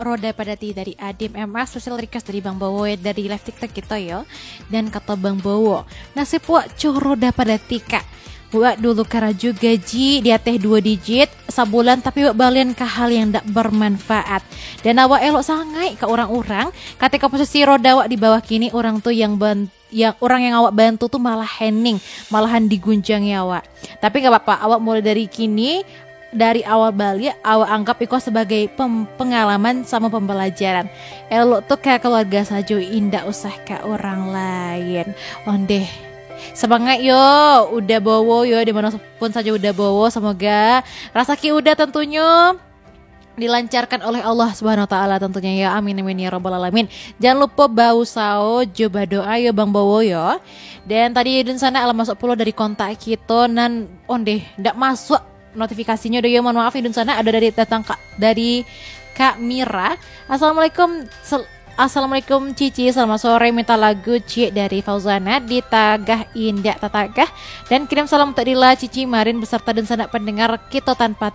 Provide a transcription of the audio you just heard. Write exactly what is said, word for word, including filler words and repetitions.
Roda Padati dari Adim M A, special request dari Bang Bowo dari live TikTok kita yo. Dan kata Bang Bowo, "Nasib wak co Roda Padati, Kak. Wak dulu karaju gaji di ateh duo digit sabulan, tapi wak balian ka hal yang dak bermanfaat. Dan awak elok sangaik ka urang-urang, katiko posisi roda wak di bawah kini, urang tu yang ban-, yang, urang yang awak bantu tu malah hening, malahan digunjangi awak. Tapi nggak apa-apa, awak mulai dari kini, dari awal baliak, awak anggap iko sebagai pem-, pengalaman sama pembelajaran. Elok tu ka keluarga sajo, indak usah ka urang lain." Ondeh. Semangat yo, Uda Bowo yo, di mana pun sajo Uda Bowo, semoga rasaki Uda tentunyo dilancarkan oleh Allah Subhanahu Wa Taala tentunya ya. Amin, amin ya rabbal alamin. Jangan lupa bausao jo badoa yo Bang Bowo yo. Dan tadi dunsanak lah masuk pulo dari kontak kito nan ondeh ndak masuk notifikasinyo doh yo. Mohon maaf, dunsanak ado dari datang ka, dari Kak Mira. "Assalamualaikum, sel-, Assalamualaikum Cici, selamat sore, minta lagu Ciek dari Fauzana, Ditagah Indak Tatagah, dan kirim salam untuk Dila, Cici, Marin beserta dunsanak pendengar Kito Tanpa